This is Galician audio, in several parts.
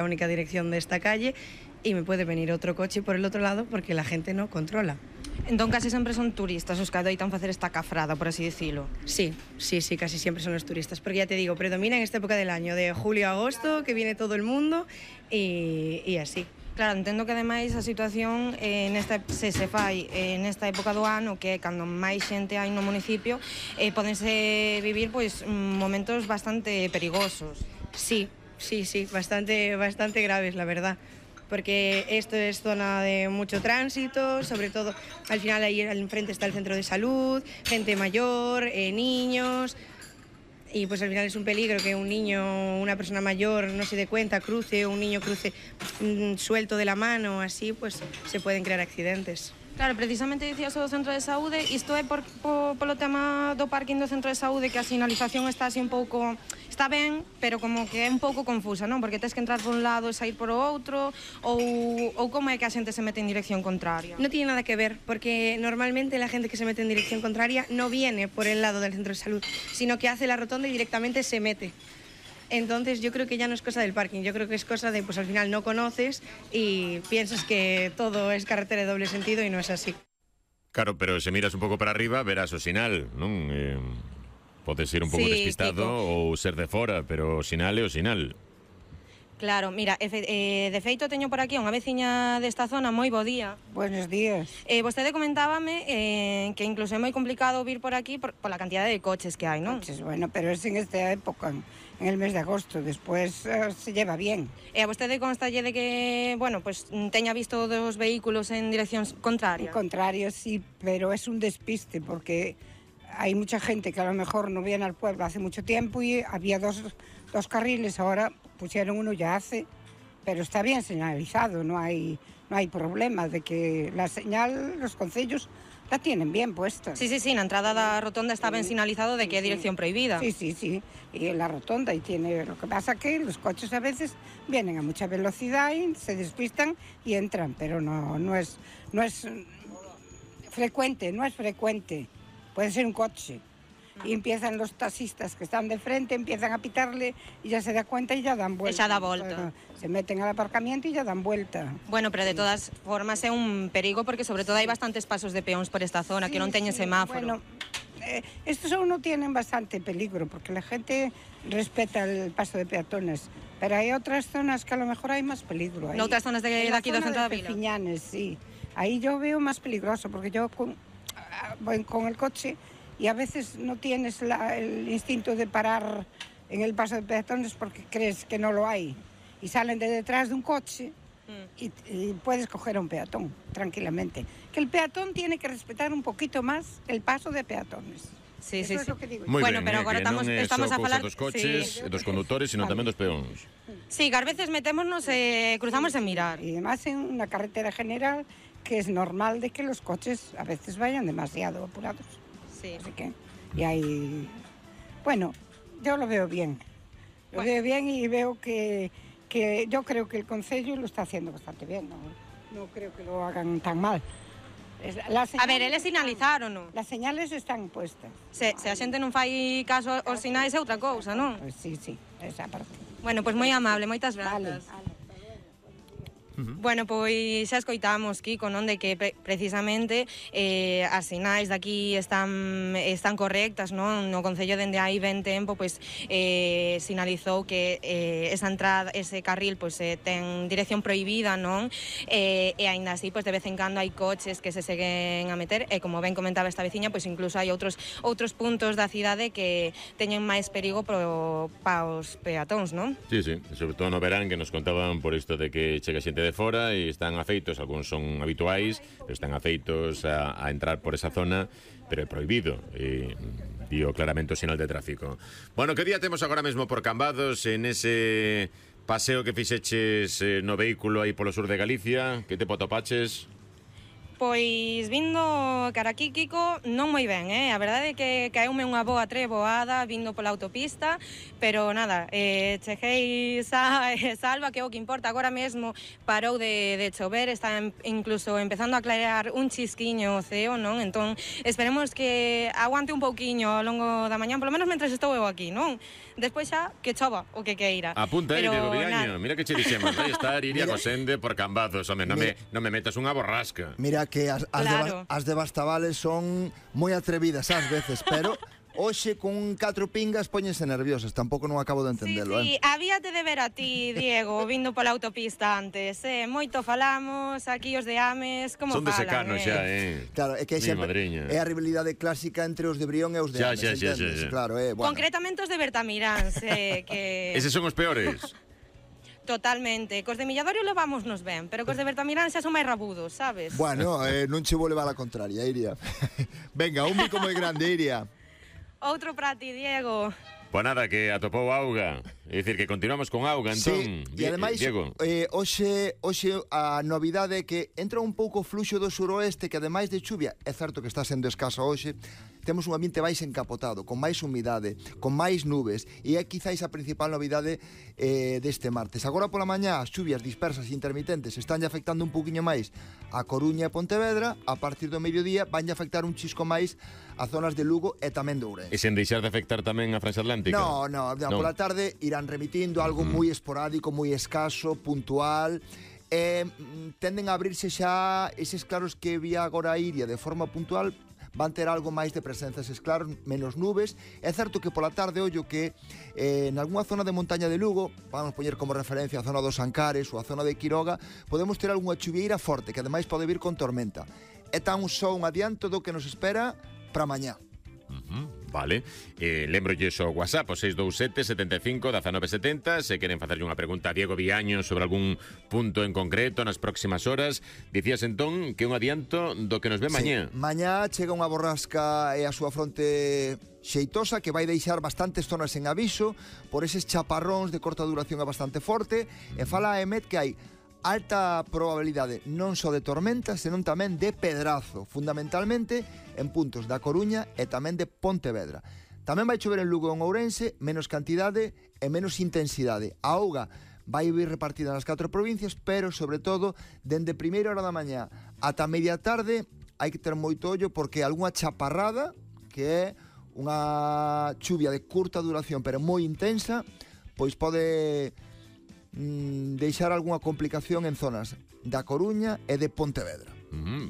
la única dirección de esta calle y me puede venir otro coche por el otro lado porque la gente no controla. Entón casi sempre son turistas os que adoitan facer esta cafrada, por así dicilo. Sí, casi siempre son los turistas, porque ya te digo, predomina en esta época del año, de julio a agosto, que viene todo el mundo y así. Claro, entendo que ademais a situación se fai nesta época do ano, que é cando máis xente hai no municipio, podense vivir pois momentos bastante perigosos. Sí, bastante graves, la verdad. Porque esto es zona de mucho tránsito, sobre todo al final ahí al enfrente está el centro de salud, gente mayor, niños, y pues al final es un peligro que un niño, una persona mayor no se dé cuenta, cruce, o un niño cruce suelto de la mano, así pues se pueden crear accidentes. Claro, precisamente dicías o do centro de saúde, isto é polo tema do parking do centro de saúde, que a sinalización está así un pouco... Está ben, pero como que é un pouco confusa, non? Porque tens que entrar por un lado e sair por o outro, ou como é que a xente se mete en dirección contraria? No tiene nada que ver, porque normalmente la gente que se mete en dirección contraria no viene por el lado del centro de salud, sino que hace la rotonda y directamente se mete. Entonces yo creo que ya no es cosa del parking, yo creo que es cosa de, pues al final no conoces y piensas que todo es carretera de doble sentido y no es así. Claro, pero se miras un pouco para arriba verás o sinal, non? Podes ser un pouco despistado ou ser de fora, pero o sinal é o sinal. Claro, mira, de feito teño por aquí unha veciña desta zona, moi bo día. Buenos días. Vostede comentábame que incluso é moi complicado vir por aquí pola cantidad de coches que hai, non? Coches, bueno, pero es en esta época, en el mes de agosto, después se lleva bien. E a vostede constalle de que, bueno, pues teña visto dos vehículos en dirección contraria? En contrario, sí, pero es un despiste porque hay mucha gente que a lo mejor no viene al pueblo hace mucho tiempo y había dos carriles, ahora pusieron uno ya hace, pero está bien señalizado, no hay problema de que la señal, los concellos la tienen bien puesta. Sí, na entrada da rotonda está ben sinalizado de que é dirección prohibida. Sí, y en la rotonda, y tiene, lo que pasa que los coches a veces vienen a mucha velocidad y se despistan y entran, pero no es frecuente, puede ser un coche. Y empiezan los taxistas que están de frente, empiezan a pitarle y ya se da cuenta y ya dan vuelta. Ya da volta. Se meten al aparcamiento y ya dan vuelta. Bueno, pero de todas formas é un perigo porque sobre todo hai bastantes pasos de peóns por esta zona que non teñen semáforo. Bueno, estos aún no tienen bastante peligro porque la gente respeta el paso de peatones, pero hay otras zonas que a lo mejor hay más peligro. En otras zonas de aquí do centro da vila. Perpiñanes, sí. Ahí yo veo más peligroso porque yo voy con el coche y a veces no tienes el instinto de parar en el paso de peatones porque crees que no lo hay y salen de detrás de un coche y puedes coger a un peatón tranquilamente. Que el peatón tiene que respetar un poquito más el paso de peatones. Sí. Es lo que digo. Bueno, pero agora estamos a falar dos coches, dos condutores, sino tamén dos peóns. Sí, que a veces metémonos e cruzamos en mirar. Y además en una carretera general que es normal de que los coches a veces vayan demasiado apurados. Sí. Así que, y hay... Bueno, yo lo veo bien. Lo veo bien y veo que yo creo que el concello lo está haciendo bastante bien. No creo que lo hagan tan mal. A ver, eles sinalizaron, non? Las señales están puestas. Se a xente non fai caso aos sinais é outra cousa, non? Pues sí, esa parte. Bueno, pois moi amable, moitas grazas. Vale. Bueno, pois xa escoitamos, Kiko, non, de que precisamente as sinais daqui están correctas, non? No Concello dende hai ben tempo, pois sinalizou que esa entrada, ese carril, pois ten dirección prohibida, non? E aínda así, pois de vez en cando hai coches que se seguen a meter, e como ben comentaba esta veciña, pois incluso hai outros puntos da cidade que teñen máis perigo para os peatóns, non? Sí, sobre todo no verán que nos contaban por isto de que chega xente de fora e están afeitos, algúns son habituais, pero están afeitos a entrar por esa zona, pero é prohibido, dio claramente o sinal de tráfico. Bueno, que día temos agora mesmo por Cambados en ese paseo que fixeches no vehículo aí polo sur de Galicia? Que te atopaches? Pois vindo cara aquí, Kiko, non moi ben, A verdade é que caeume unha boa treboada vindo pola autopista, pero nada, cheguei salva, que é o que importa. Agora mesmo parou de chover, está incluso empezando a clarear un chisquiño o ceo, non? Entón, esperemos que aguante un pouquiño ao longo da mañá, polo menos mentres estou eu aquí, non? Despois xa que chova o que queira. Apunta aí, Diego Viaño. Mira que che dixemos, vai estar Iria Cosende por Cambazos, home, non me metas unha borrasca. Mira que Claro. as de Bastavales son moi atrevidas ás veces, pero hoxe con 4 pingas póñense nerviosas, tampouco non acabo de entendelo, Sí, habíate de ver a ti, Diego, vindo pola autopista antes, Moito falamos, aquí os de Ames, como Son de falan, secano xa, Claro, é que Mi sempre madriña. é a rivalidade clásica entre os de Brión e os de Xa, Ames, xa, xa, entendes? xa. Claro, bueno. Concretamente os de Bertamiráns, que... Eses son os peores. Totalmente. Cos de Milladorio levámonos ben, pero cos de Bertamirán xa son máis rabudos, sabes? Bueno, non che vou levar a contraria, Iria. Venga, un bico moi grande, Iria. Outro para ti, Diego. Pois nada, que atopou auga. É dicir, que continuamos con auga, entón. Sí, e ademais, Diego. hoxe a novidade é que entra un pouco fluxo do suroeste que ademais de chuvia, é certo que está sendo escaso hoxe, temos un ambiente máis encapotado, con máis humidade, con máis nubes, e é quizáis a principal novidade deste martes. Agora pola mañá, as chuvias dispersas e intermitentes están afectando un pouquiño máis a Coruña e Pontevedra, a partir do mediodía van afectar un chisco máis a zonas de Lugo e tamén de Ourense. E sen deixar de afectar tamén a Franxa Atlántica? No, pola tarde irán remitindo algo moi esporádico, moi escaso, puntual, tenden a abrirse xa eses claros que vía agora a Iria de forma puntual, van ter algo máis de presenza eses claros, menos nubes. É certo que pola tarde, ollo que en algunha zona de montaña de Lugo, vamos poñer como referencia a zona dos Ancares ou a zona de Quiroga, podemos ter algunha chuvieira forte, que ademais pode vir con tormenta. É tan só un adianto do que nos espera para mañá. Vale, lembrolles o WhatsApp o 627 75 1970. Se queren facerlle unha pregunta a Diego Viaño sobre algún punto en concreto nas próximas horas. Dicías entón que un adianto do que nos ve mañá. Mañá chega unha borrasca e a súa fronte xeitosa que vai deixar bastantes zonas en aviso por eses chaparróns de corta duración e bastante forte, e fala a EMET que hai alta probabilidade non só de tormenta, senón tamén de pedrazo, fundamentalmente en puntos da Coruña e tamén de Pontevedra. Tamén vai chover en Lugo e en Ourense, menos cantidade e menos intensidade. A auga vai vir repartida nas 4 provincias, pero, sobre todo, dende primeira hora da mañá ata media tarde, hai que ter moito ollo porque algunha chaparrada, que é unha chuvia de curta duración, pero moi intensa, pois pode deixar algunha complicación en zonas da Coruña e de Pontevedra.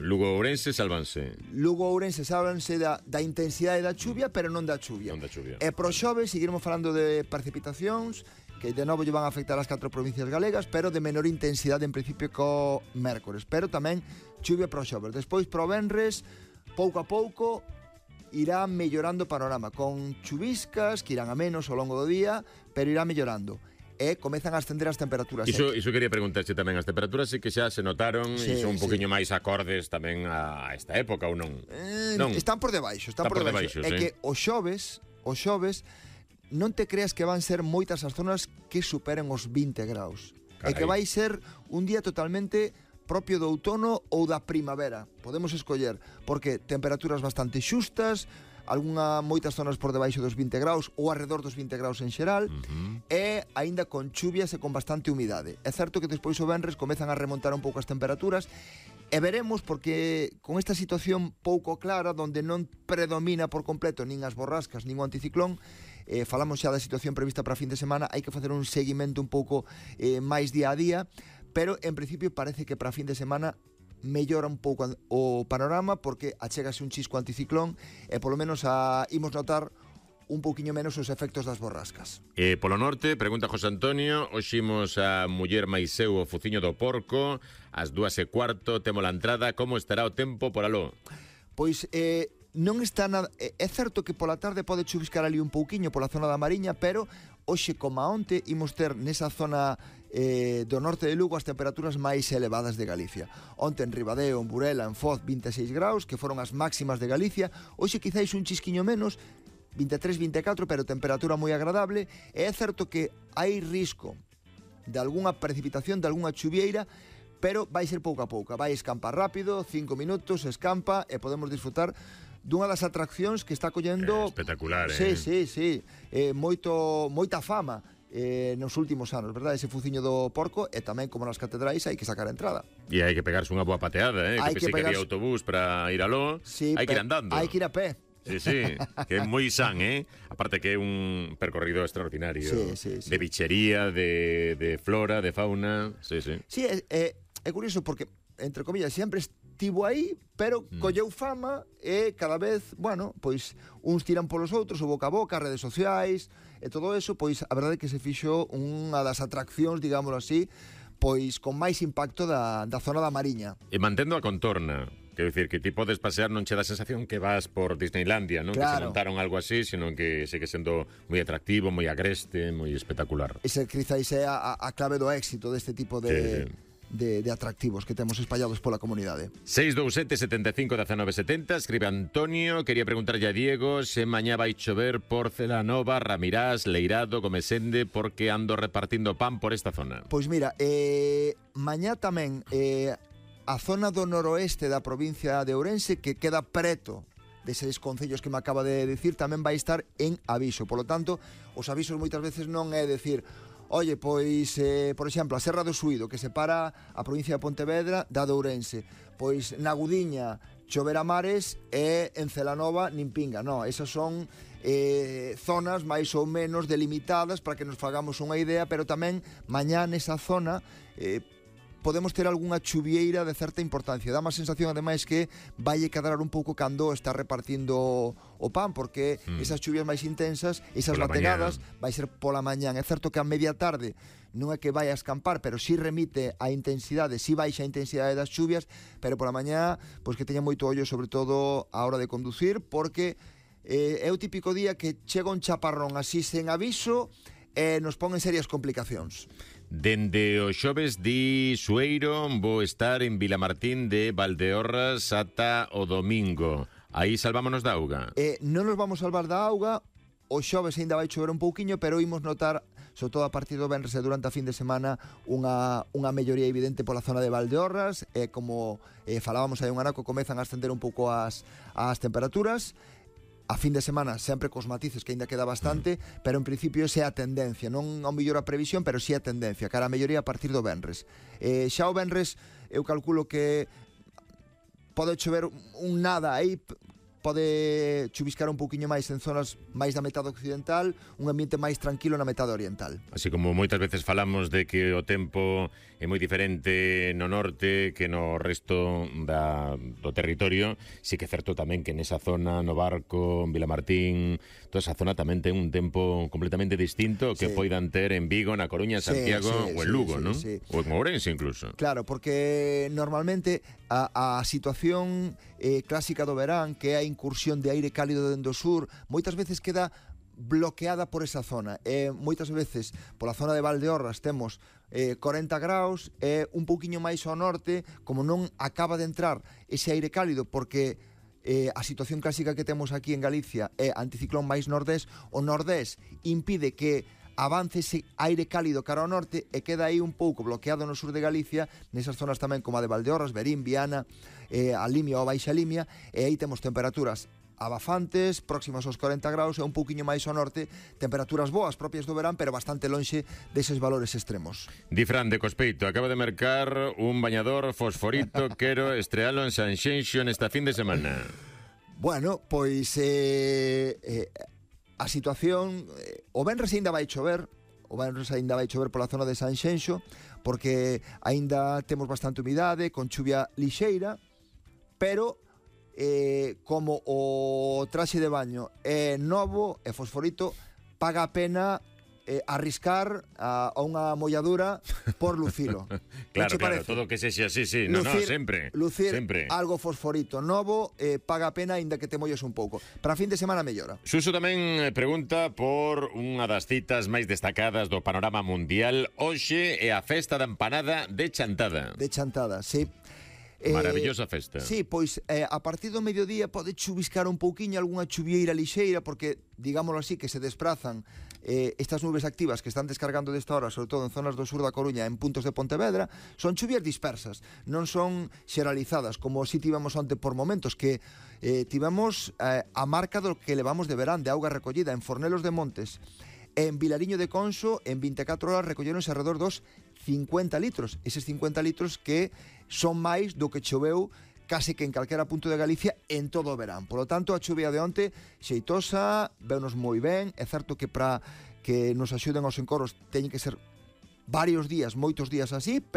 Lugo e Ourense salvanse. Lugo e Ourense salvanse da intensidade da chuvia, pero non da chuvia. Non da chuvia. E pro xoves seguiremos falando de precipitacións que de novo lle van a afectar as 4 provincias galegas, pero de menor intensidade en principio co mércores, pero tamén chuvia pro xoves. Despois pro venres, pouco a pouco irá mellorando o panorama, con chuviscas que irán a menos ao longo do día, pero irá mellorando. E comezan a ascender as temperaturas. Iso quería preguntarche tamén, as temperaturas sí que xa se notaron e son un poquinho máis acordes tamén a esta época ou non? Non. Están por debaixo, están por debaixo. É que o xoves non te creas que van ser moitas as zonas que superen os 20 graus. Carai. É que vai ser un día totalmente propio do outono ou da primavera. Podemos escoller, porque temperaturas bastante xustas, moitas zonas por debaixo dos 20 graus ou alrededor dos 20 graus en xeral, e aínda con chuvias e con bastante humidade. É certo que despois o venres comezan a remontar un pouco as temperaturas e veremos, porque con esta situación pouco clara, donde non predomina por completo nin as borrascas nin o anticiclón, falamos xa da situación prevista para a fin de semana, hai que facer un seguimento un pouco máis día a día, pero en principio parece que para a fin de semana mellora un pouco o panorama, porque achégase un chisco anticiclón e polo menos imos notar un pouquiño menos os efectos das borrascas. Polo norte, pregunta José Antonio, oximos a muller máis seu o Fuciño do Porco, ás 2:15, temos a entrada, como estará o tempo por aló? Pois non está nada. É certo que pola tarde pode chuviscar ali un pouquiño pola zona da Mariña, pero hoxe como onte imos ter nesa zona do norte de Lugo as temperaturas máis elevadas de Galicia. Onte en Ribadeo, en Burela, en Foz 26 graus, que foron as máximas de Galicia. Hoxe quizáis un chisquiño menos, 23, 24, pero temperatura moi agradable. E é certo que hai risco de algunha precipitación, de algunha chuvieira, pero vai ser pouco a pouco. Vai escampar rápido, 5 minutos, escampa, e podemos disfrutar dunha das atraccións que está collendo... Espectacular, Sí. Moita fama nos últimos anos, verdad? Ese fuciño do porco, e tamén, como nas catedrais, hai que sacar a entrada. E hai que pegarse unha boa pateada, que pensei que había autobús para ir aló, sí, hai que ir andando. Hai que ir a pé. Sí, que é moi san, aparte que é un percorrido extraordinario, sí. de bichería, de flora, de fauna, sí. Sí, é curioso porque, entre comillas, sempre estivo aí, pero colleu fama e cada vez, bueno, pois uns tiran polos outros, o boca a boca, as redes sociais e todo eso, pois a verdade é que se fixo unha das atraccións, digámoslo así, pois con máis impacto da zona da Mariña. E mantendo a contorna. Quero dicir, que ti podes pasear, non che dá a sensación que vas por Disneylandia, non? Claro. Que se montaron algo así, sino que segue sendo moi atractivo, moi agreste, moi espectacular. Ese quizáis é a clave do éxito deste tipo de atractivos que temos espallados pola comunidade. 627 75 19 70, escribe Antonio, quería preguntarlle a Diego se mañá vai chover por Celanova, Ramirás, Leirado, Gomesende, porque ando repartindo pan por esta zona. Pois mira, mañá tamén... a zona do noroeste da provincia de Ourense, que queda preto deses concellos que me acaba de dicir, tamén vai estar en aviso. Por lo tanto, os avisos moitas veces non é decir, oye, pois, por exemplo, a Serra do Suído, que separa a provincia de Pontevedra da de Ourense. Pois na Gudiña, chover a mares, e en Celanova nin pinga. Non, esas son zonas máis ou menos delimitadas para que nos fagamos unha idea, pero tamén mañá nesa zona podemos ter algunha chuvieira de certa importancia. Dá má sensación, ademais, que vai cadrar un pouco cando está repartindo o pan, porque esas chuvias máis intensas, esas bategadas, vai ser pola mañán. É certo que a media tarde non é que vai a escampar, pero si remite a intensidade, si baixa a intensidade das chuvias, pero pola mañá, pois que teña moito ollo, sobre todo a hora de conducir, porque é o típico día que chega un chaparrón así sen aviso e nos pon en serias complicacións. Dende o xoves di Sueiro vou estar en Vilamartín de Valdeorras ata o domingo. Aí salvámonos da auga. Non nos vamos salvar da auga. O xoves ainda vai chover un pouquiño, pero imos notar, sobre todo a partir do venres e durante a fin de semana, unha melloría evidente pola zona de Valdeorras. Como falábamos hai un anaco, comezan a ascender un pouco as temperaturas. A fin de semana sempre cos matices, que ainda queda bastante, pero en principio esa é a tendencia, non ao mellor a previsión, pero sí a tendencia, cara a melloría a partir do venres. Xa o venres eu calculo que pode chover un nada aí, pode chuviscar un pouquiño máis en zonas máis da metade occidental, un ambiente máis tranquilo na metade oriental. Así como moitas veces falamos de que o tempo é moi diferente no norte que no resto do territorio, sí que é certo tamén que nesa zona, no Barco, en Vilamartín, toda esa zona tamén ten un tempo completamente distinto que poidan ter en Vigo, na Coruña, Santiago ou en Lugo, non? Ou en Ourense incluso. Claro, porque normalmente a situación clásica do verán, que é a incursión de aire cálido dende o sur, moitas veces queda bloqueada por esa zona. Moitas veces pola zona de Valdeorras temos 40 graus, un pouquiño máis ao norte, como non acaba de entrar ese aire cálido, porque a situación clásica que temos aquí en Galicia é anticiclón máis nordés, o nordés impide que avance ese aire cálido cara ao norte e queda aí un pouco bloqueado no sur de Galicia, nesas zonas tamén como a de Valdeorras, Verín, Viana, a Limia ou a Baixa Limia, e aí temos temperaturas abafantes, próximas aos 40 graus e un pouquiño máis ao norte, temperaturas boas propias do verán, pero bastante lonxe deses valores extremos. Di Fran de Cospeito, acaba de mercar un bañador fosforito, quero estrealo en Sanxenxo nesta fin de semana. Bueno, pois a situación, o venres aínda vai chover, pola zona de Sanxenxo, porque aínda temos bastante humidade, con chuvia lixeira, pero como o traxe de baño é novo e fosforito, paga a pena arriscar a unha molladura por lucilo. Claro, todo que sexa así, sí. Sempre. Lucir algo fosforito novo paga a pena, aínda que te molles un pouco. Para fin de semana mellora. Suso tamén pregunta por unha das citas máis destacadas do panorama mundial. Hoxe é a festa da empanada de Chantada. De Chantada, sí. Maravillosa festa. Sí, pois a partir do mediodía pode chuviscar un pouquiño, algunha chuvieira lixeira, porque, digámoslo así, que se desplazan estas nubes activas que están descargando desta hora, sobre todo en zonas do sur da Coruña, en puntos de Pontevedra, son chuvias dispersas, non son xeralizadas, como si tivemos onte por momentos, que tivemos a marca do que levamos de verán, de auga recollida en Fornelos de Montes, en Vilariño de Conso, en 24 horas recolleronse alrededor dos 50 litros. Eses 50 litros que son máis do que choveu case que en calquera punto de Galicia en todo o verán. Por lo tanto, a chuvia de onte xeitosa, veunos moi ben. É certo que para que nos axuden aos encoros teñen que ser varios días, moitos días así, pero